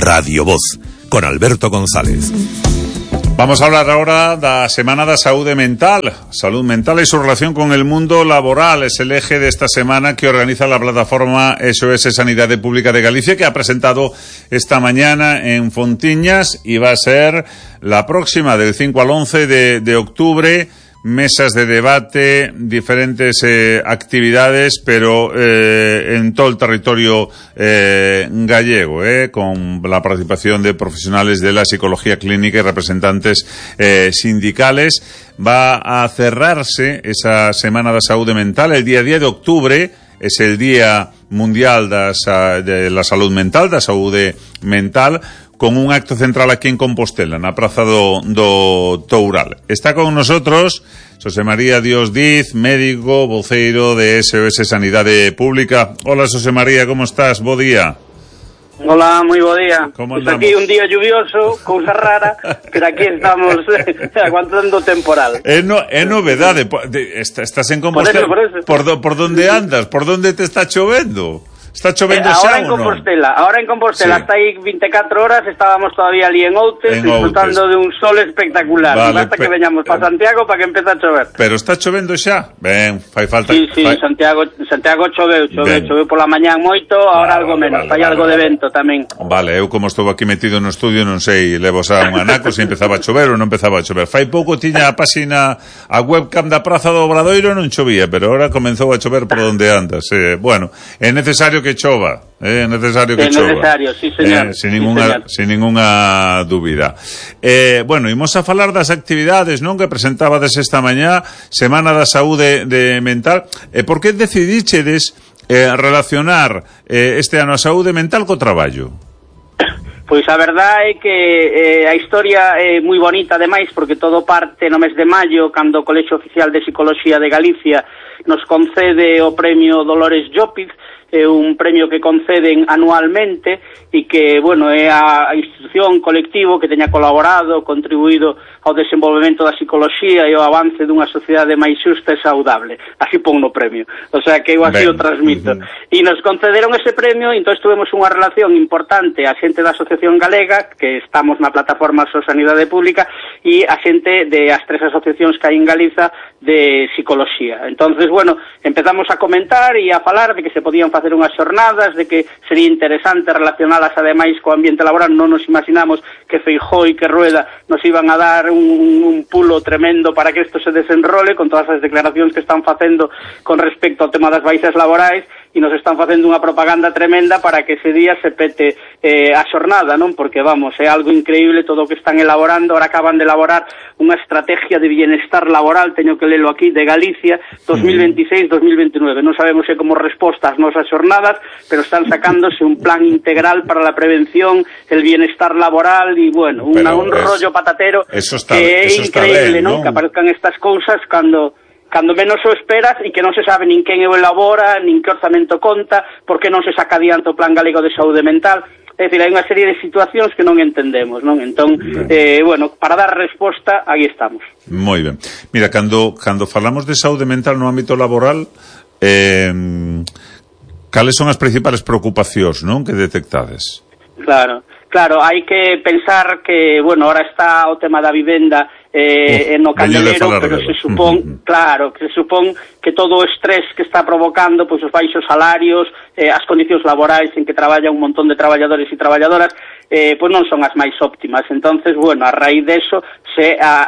Radio Voz, con Alberto González. Vamos a hablar ahora da Semana da Saúde Mental. Salud mental e su relación con el mundo laboral es el eje de esta semana que organiza la plataforma SOS Sanidade Pública de Galicia, que ha presentado esta mañana en Fontiñas y va a ser la próxima del 5 al 11 de octubre. Mesas de debate, diferentes actividades, pero en todo el territorio gallego, con la participación de profesionales de la psicología clínica y representantes sindicales. Va a cerrarse esa Semana da Saúde Mental el día 10 de octubre. Es el Día Mundial de la Salud Mental, da Saúde Mental, con un acto central aquí en Compostela, na Praza do Toural. Está con nosotros Xosé María Dios Diz, médico, voceiro de SOS Sanidade Pública. Hola, Xosé María, como estás? Bo día. Hola, moi bo día. Pues aquí un día lluvioso, cousa rara, pero aquí estamos aguantando o temporal. É novedade. Estás en Compostela. Por eso. Por donde andas? Por donde te está chovendo? Está chovendo xa ou non? Ahora en Compostela, sí. Hasta aí 24 horas estábamos todavía ali en Outes, disfrutando de un sol espectacular. Vale, hasta que veñamos para Santiago para que empece a chover. Pero está chovendo xa? Ben, fai falta... Sí, Santiago choveu pola mañán moito, ahora algo menos, fai algo de vento tamén. Vale, eu como estou aquí metido no estudio non sei, levo xa un anaco se empezaba a chover ou non empezaba a chover. Fai pouco tiña a páxina, a webcam da Praza do Obradoiro non chovía, pero ahora comenzou a chover por onde andas. Bueno, é necesario que chova, é necesario que chova. É necesario, sí, señor. Sin ninguna dúbida. Bueno, imos a falar das actividades, non, que presentabades esta mañá, Semana da Saúde Mental. Por que decidichedes relacionar este ano a saúde mental co traballo? Pois a verdade é que a historia é moi bonita, ademais, porque todo parte no mes de maio, cando o Colexio Oficial de Psicología de Galicia nos concede o premio Dolores Llopiz, un premio que conceden anualmente e que, bueno, é a institución colectivo que teña colaborado, contribuído ao desenvolvemento da psicoloxía e ao avance dunha sociedade máis xusta e saudable. Así pon no premio. O sea, que eu así o transmito. E nos concederon ese premio, e entón tuvemos unha relación importante a xente da Asociación Galega, que estamos na plataforma SOS Sanidade Pública, e a xente de as tres asociacións que hai en Galiza de psicoloxía. Entonces, bueno, empezamos a comentar e a falar de que se podían facer unhas xornadas, de que sería interesante relacionalas ademais co ambiente laboral. Non nos imaginamos que Feijóo e que Rueda nos iban a dar un pulo tremendo para que isto se desenrole, con todas as declaracións que están facendo con respecto ao tema das baixas laborais, e nos están facendo unha propaganda tremenda para que ese día se pete a xornada, non? Porque, vamos, é algo increíble todo o que están elaborando. Ahora acaban de elaborar unha estrategia de bienestar laboral, teño que lelo aquí, de Galicia, 2026-2029. Non sabemos se como resposta ás nosas xornadas, pero están sacándose un plan integral para la prevención, el bienestar laboral e, bueno, un rollo patatero que é increíble, non? Que aparezcan estas cousas cando menos o esperas e que non se sabe nin quen o elabora, nin que orzamento conta, porque non se saca adiante o Plan Galego de Saúde Mental. É dicir, hai unha serie de situacións que non entendemos, non? Entón, bueno, para dar resposta, aí estamos. Moi ben. Mira, cando falamos de saúde mental no ámbito laboral, cales son as principales preocupacións, non, que detectades? Claro, hai que pensar que, bueno, ahora está o tema da vivenda no candelero, pero se supón, claro, que se supón que todo o estrés que está provocando, pois os baixos salarios, as condicións laborais en que traballa un montón de traballadores e traballadoras, pois non son as máis óptimas. Entonces, bueno, a raíz de eso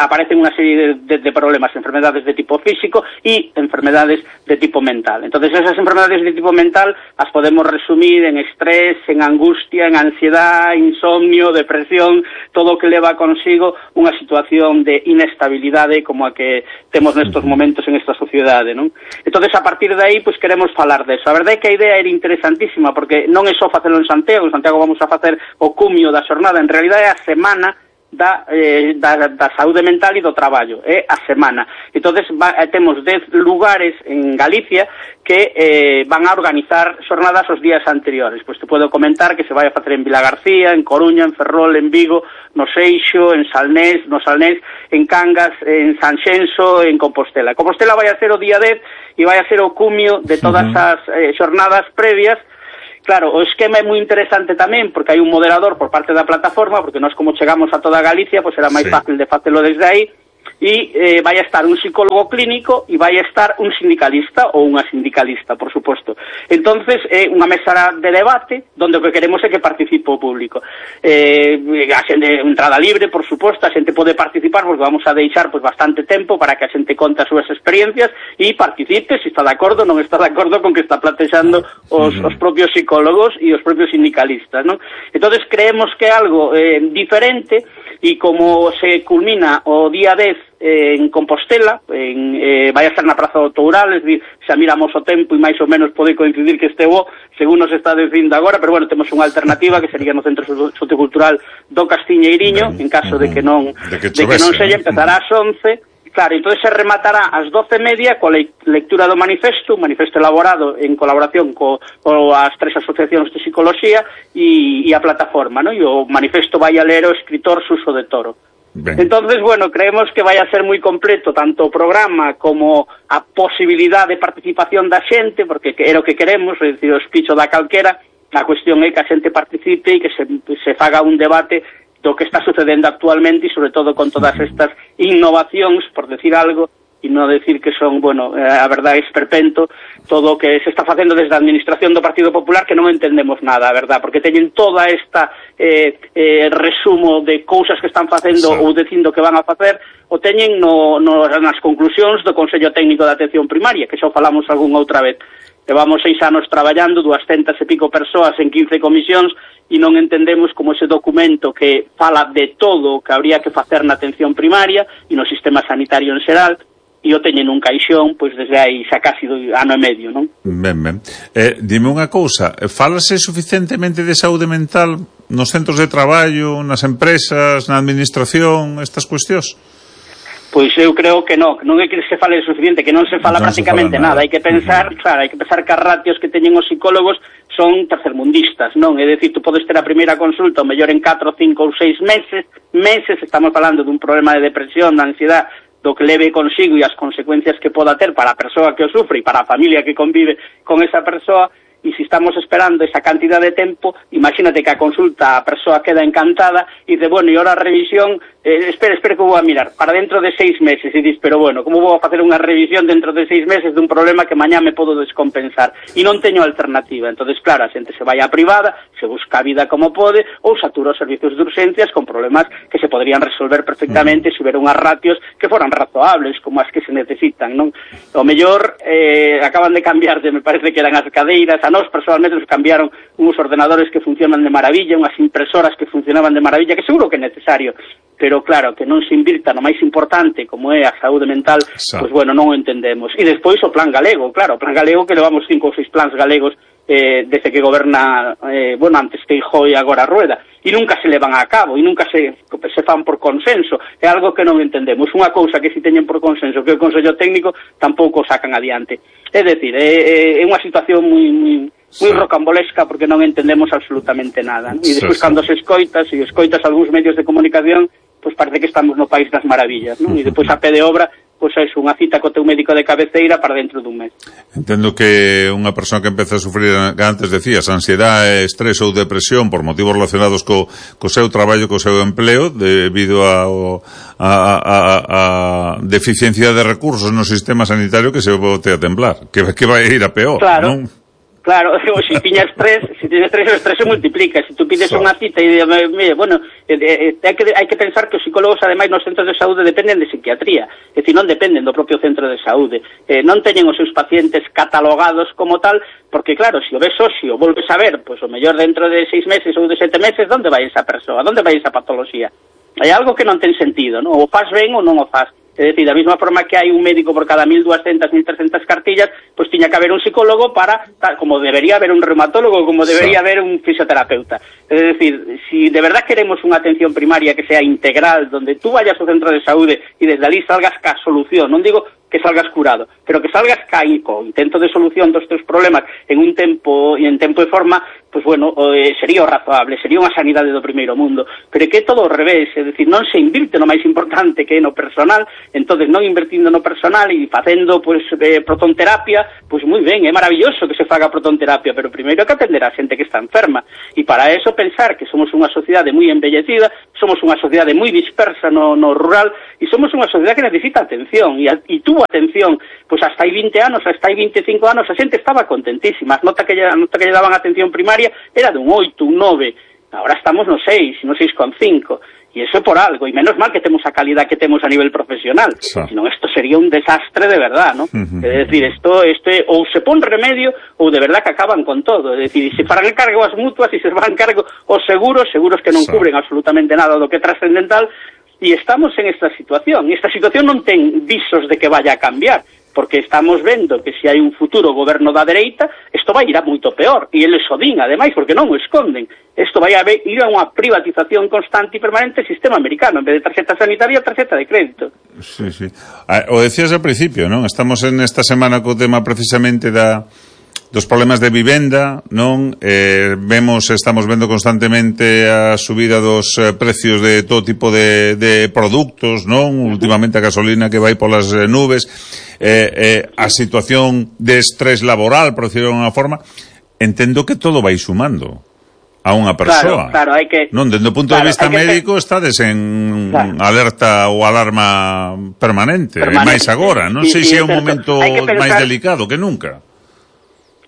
aparecen unha serie de problemas, enfermedades de tipo físico e enfermedades de tipo mental. Entonces, esas enfermedades de tipo mental as podemos resumir en estrés, en angustia, en ansiedad, insomnio, depresión, todo o que leva consigo unha situación de inestabilidade como a que temos nestos momentos en esta sociedade, non? Entonces, a partir de aí, pois queremos falar deso. A verdade é que a idea era interesantísima, porque non é só facelo en Santiago vamos a facer o cumio da xornada, en realidade é a semana da saúde mental e do traballo, é a semana. Entonces temos 10 lugares en Galicia que van a organizar xornadas os días anteriores. Pois te podo comentar que se vai a facer en Vilagarcía, en Coruña, en Ferrol, en Vigo, no Seixo, en Salnés, en Cangas, en Sanxenxo, en Compostela. Compostela vai a ser o día 10 e vai a ser o cumio de todas as xornadas previas claro, o esquema é moi interesante tamén, porque hai un moderador por parte da plataforma, porque nós como chegamos a toda Galicia, pois era máis fácil de facelo desde aí, e vai a estar un psicólogo clínico e vai a estar un sindicalista ou unha sindicalista, por suposto. Entonces, é unha mesa de debate onde o que queremos é que participe o público. A xente, entrada libre, por suposto, a xente pode participar porque vamos a deixar pues, bastante tempo para que a xente conte as súas experiencias e participe se está de acordo ou non está de acordo con que está plantexando os propios psicólogos e os propios sindicalistas, ¿no? Entonces, creemos que é algo diferente e como se culmina o día 10 en Compostela, vai a estar na Praza do Toural, es decir, xa miramos o tempo e máis ou menos pode coincidir que este bo, según nos está dicindo agora, pero bueno, temos unha alternativa que sería no Centro Sociocultural do Castiñeiriño, en caso de que non selle, empezará ás 11. Claro, entón se rematará ás 12:30 coa lectura do manifesto, un manifesto elaborado en colaboración coas 3 asociacións de psicoloxía e a plataforma, ¿no? E o manifesto vai a ler o escritor Suso de Toro. Ben. Entonces, bueno, creemos que vai a ser moi completo tanto o programa como a posibilidade de participación da xente, porque é o que queremos, é dicir, o espicho da calquera, a cuestión é que a xente participe e que se faga un debate do que está sucedendo actualmente e sobre todo con todas estas innovacións, por decir algo, e non decir que son, bueno, a verdade é esperpento todo o que se está facendo desde a administración do Partido Popular, que non entendemos nada, a verdade, porque teñen toda esta resumo de cousas que están facendo ou dicindo que van a facer, o teñen nas conclusións do Consello Técnico de Atención Primaria, que xa falamos algunha outra vez. Levamos 6 anos traballando, 200 e pico persoas en 15 comisións, e non entendemos como ese documento que fala de todo o que habría que facer na atención primaria e no sistema sanitario en xeral, e o teñen un caixón, pois desde aí xa casi ano e medio, non? Ben. Dime unha cousa, fálase suficientemente de saúde mental nos centros de traballo, nas empresas, na administración, estas cuestións? Pois eu creo que non é que se fale suficiente, que non se fala prácticamente nada. Hai que pensar, claro, hai que pensar que as ratios que teñen os psicólogos son tercermundistas, non? É dicir, tú podes ter a primeira consulta, o mellor en 4, 5 ou 6 meses, estamos falando dun problema de depresión, de ansiedade, do que leve consigo e as consecuencias que poda ter para a persoa que o sufre e para a familia que convive con esa persoa, e se estamos esperando esa cantidad de tempo, imagínate que a consulta a persoa queda encantada e dice, bueno, e ahora a revisión, espera que vou a mirar, para dentro de 6 meses, e dices, pero bueno, como vou a facer unha revisión dentro de 6 meses dun problema que mañá me podo descompensar, e non teño alternativa. Entonces, claro, a xente se vai á privada, se busca a vida como pode, ou satura os servicios de urgencias con problemas que se podrían resolver perfectamente se hubiera unhas ratios que foran razoables, como as que se necesitan, non? O mellor, acaban de cambiar, me parece que eran as cadeiras, a nós personalmente nos cambiaron uns ordenadores que funcionan de maravilla, unhas impresoras que funcionaban de maravilla, que seguro que é necesario, pero claro, que non se invirta no máis importante como é a saúde mental, pois bueno, non o entendemos. E despois o plan galego, claro, o plan galego que levamos 5 ou 6 plans galegos desde que goberna, bueno, antes Feijóo e agora Rueda, e nunca se levan a cabo, e nunca se fan por consenso. É algo que non entendemos. Unha cousa que si teñen por consenso, que o Consello Técnico tampouco sacan adiante. É dicir, é unha situación moi rocambolesca porque non entendemos absolutamente nada, ¿no? E despois cando se escoitas algúns medios de comunicación, pois parece que estamos no país das maravillas, ¿no? E despois a pé de obra, pois é unha cita co teu médico de cabeceira para dentro dun mes. Entendo que unha persoa que empeza a sufrir, que antes decías, ansiedade, estrés ou depresión por motivos relacionados co seu traballo, co seu empleo, debido a deficiencia de recursos no sistema sanitario, que se bote a temblar, que vai ir a peor, claro. Non? Claro, se tiñas estrés, o estrés se multiplica. Se tú pides unha cita e bueno, hai que pensar que os psicólogos, ademais, nos centros de saúde dependen de psiquiatría, é dicir, non dependen do propio centro de saúde, non teñen os seus pacientes catalogados como tal, porque claro, se o ves hoxe o volves a ver, pois o mellor dentro de 6 meses ou de 7 meses, onde vai esa persoa, onde vai esa patoloxía? Hai algo que non ten sentido, non? O faz ben ou non o faz. É dicir, da mesma forma que hai un médico por cada 1.200, 1.300 cartillas, pois tiña que haber un psicólogo para, como debería haber un reumatólogo, como debería haber un fisioterapeuta. É dicir, si de verdad queremos unha atención primaria que sea integral, donde tú vayas ao centro de saúde e desde ali salgas ca solución, non digo que salgas curado, pero que salgas co intento de solución dos teus problemas en tempo e forma, pois bueno, sería o razoable, sería unha sanidade do primeiro mundo, pero que é todo ao revés, é dicir, non se invirte no máis importante que é no personal, entonces non invertindo no personal e facendo pois protonterapia, pois moi ben, é maravilloso que se faga protonterapia, pero primeiro hai que atender a xente que está enferma, e para eso pensar que somos unha sociedade moi envellecida, somos unha sociedade moi dispersa no rural, e somos unha sociedade que necesita atención, e tuvo atención, pois hasta hai 20 anos, hasta hai 25 anos, a xente estaba contentísima, a nota que lle daban atención primaria era dun 8, un 9, agora estamos no 6, no 6,5, e iso é por algo, e menos mal que temos a calidad que temos a nivel profesional, senón isto sería un desastre de verdad, ¿no? É dicir, isto ou se pon remedio ou de verdad que acaban con todo, é dicir, se farán cargo as mutuas e se van cargo os seguros que non cubren absolutamente nada do que é trascendental, e estamos en esta situación non ten visos de que vaya a cambiar, porque estamos vendo que se hai un futuro goberno da dereita, isto vai ir a moito peor, e eles o din, ademais, porque non o esconden. Isto vai ir a unha privatización constante e permanente do sistema americano, en vez de tarxeta sanitaria, tarxeta de crédito. Sí, sí. O decías ao principio, non? Estamos en esta semana co tema precisamente dos problemas de vivenda, non? Estamos vendo constantemente a subida dos precios de todo tipo de produtos, non? Últimamente a gasolina que vai polas nubes, a situación de estrés laboral, por decirlo de unha forma, entendo que todo vai sumando a unha persoa. Claro, hai que... Non, dende o punto de vista médico estades en alerta ou alarma permanente. Máis agora, non sei se é un momento máis delicado que nunca.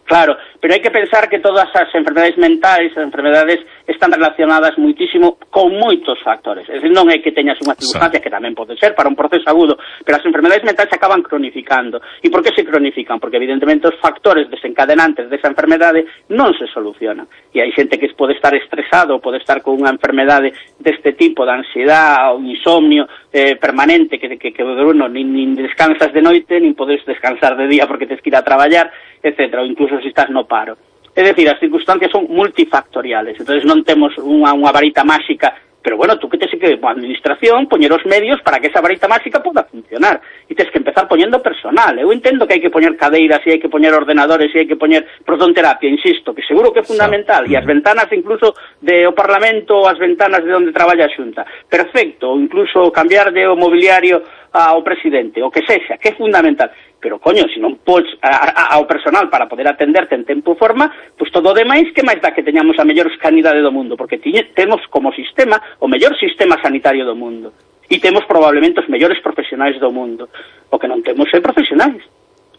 Claro, pero hai que pensar que todas as enfermedades mentais, as enfermedades están relacionadas muitísimo con moitos factores. É dicir, non é que teñas unha circunstancia que tamén pode ser para un proceso agudo, pero as enfermedades mentais se acaban cronificando. E por que se cronifican? Porque evidentemente os factores desencadenantes desa enfermedade non se solucionan. E hai xente que pode estar estresado, pode estar con unha enfermedade deste tipo, de ansiedade ou insomnio permanente, que nin descansas de noite, nin podes descansar de día porque tens que ir a traballar, etcétera, ou incluso se estás no paro. É dicir, as circunstancias son multifactoriales, entonces non temos unha varita máxica, pero bueno, tú que tes que, a administración, poñer os medios para que esa varita máxica poda funcionar, e tes que empezar poñendo personal. Eu entendo que hai que poñer cadeiras, e hai que poñer ordenadores, e hai que poñer protonterapia, insisto, que seguro que é fundamental, e as ventanas incluso do Parlamento, as ventanas de onde traballa a Xunta, perfecto, ou incluso cambiar de o mobiliario ao presidente, o que sexa, que é fundamental. Pero, coño, se non podes ao personal para poder atenderte en tempo e forma, pois todo o demais que máis dá que teñamos a mellor sanidade do mundo, porque temos como sistema o mellor sistema sanitario do mundo. E temos probablemente os mellores profesionais do mundo. O que non temos é profesionais.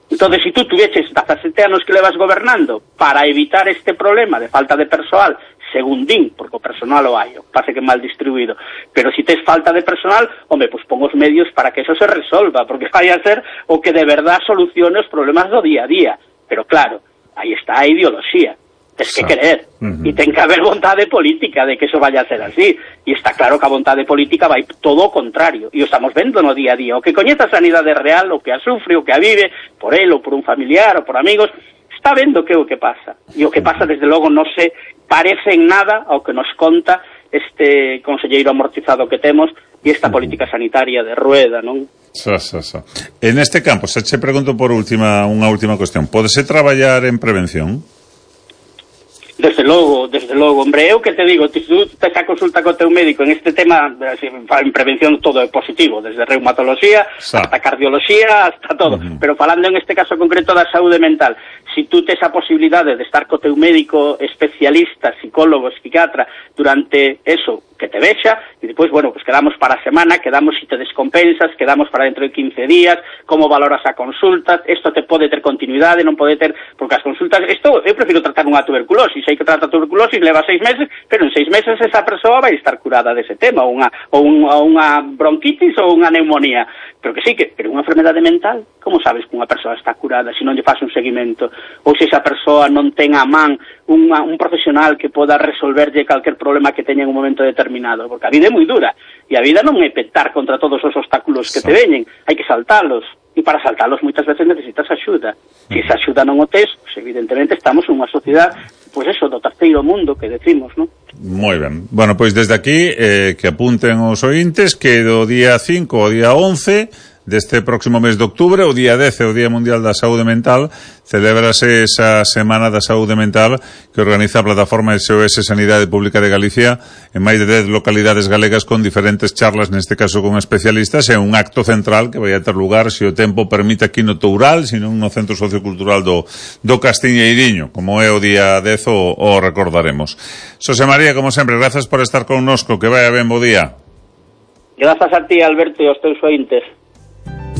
Entón, se tú tuveches 17 anos que levas gobernando para evitar este problema de falta de persoal, según din, porque o personal o hai, pase que mal distribuído, pero se tes falta de personal, home, pois pon os medios para que eso se resolva, porque vai a ser o que de verdad solucione os problemas do día a día. Pero claro, aí está a ideoloxía, tes que querer, e ten que haber vontade política de que eso vaya a ser así, e está claro que a vontade política vai todo o contrario, e o estamos vendo no día a día, o que coñece a sanidade real, o que a sufre, o que a vive, por él ou por un familiar ou por amigos, está vendo que é o que pasa, e o que pasa desde logo non se parece en nada ao que nos conta este conselleiro amortizado que temos e esta política sanitaria de rueda, non? En este campo, se che pregunto por unha última cuestión, pódese traballar en prevención? Desde logo, hombre, eu que te digo, se tú tes a consulta co teu médico en este tema, en prevención todo é positivo, desde reumatoloxía hasta cardioloxía, hasta todo, pero falando en este caso concreto da saúde mental, se tú tes a posibilidade de estar co teu médico especialista, psicólogo, psiquiatra, durante eso, que te vexa, e depois, bueno, pues quedamos para a semana, quedamos si te descompensas, quedamos para dentro de 15 días, como valoras a consulta, isto te pode ter continuidade, non pode ter, porque as consultas, isto, eu prefiro tratar unha tuberculosis, hai que tratar tuberculosis, leva 6 meses, pero en 6 meses esa persoa vai estar curada dese tema, ou unha bronquitis ou unha neumonía, pero que sí, pero unha enfermedade mental, como sabes que unha persoa está curada se non lle faz un seguimento, ou se esa persoa non ten a man un profesional que poda resolverlle calquer problema que teña en un momento determinado, porque a vida é moi dura, e a vida non é petar contra todos os obstáculos que te veñen, hai que saltalos, e para saltalos moitas veces necesitas axuda. Se esa axuda non o tes, pues evidentemente estamos en unha sociedade, pois eso, do terceiro mundo que decimos, non? Moi ben. Bueno, pois desde aquí que apunten os ointes que do día 5 ao día 11 deste próximo mes de octubre, o día 10, o Día Mundial da Saúde Mental, celébrase esa Semana da Saúde Mental que organiza a plataforma SOS Sanidade Pública de Galicia en máis de 10 localidades galegas con diferentes charlas, neste caso con especialistas, e un acto central que vai a ter lugar, se o tempo permite, aquí no Toural, sino no Centro Sociocultural do Castiñeiriño, como é o día 10 o recordaremos. Xosé María, como sempre, grazas por estar connosco, que vaya ben, bo día. Grazas a ti, Alberto, e aos teus ointes.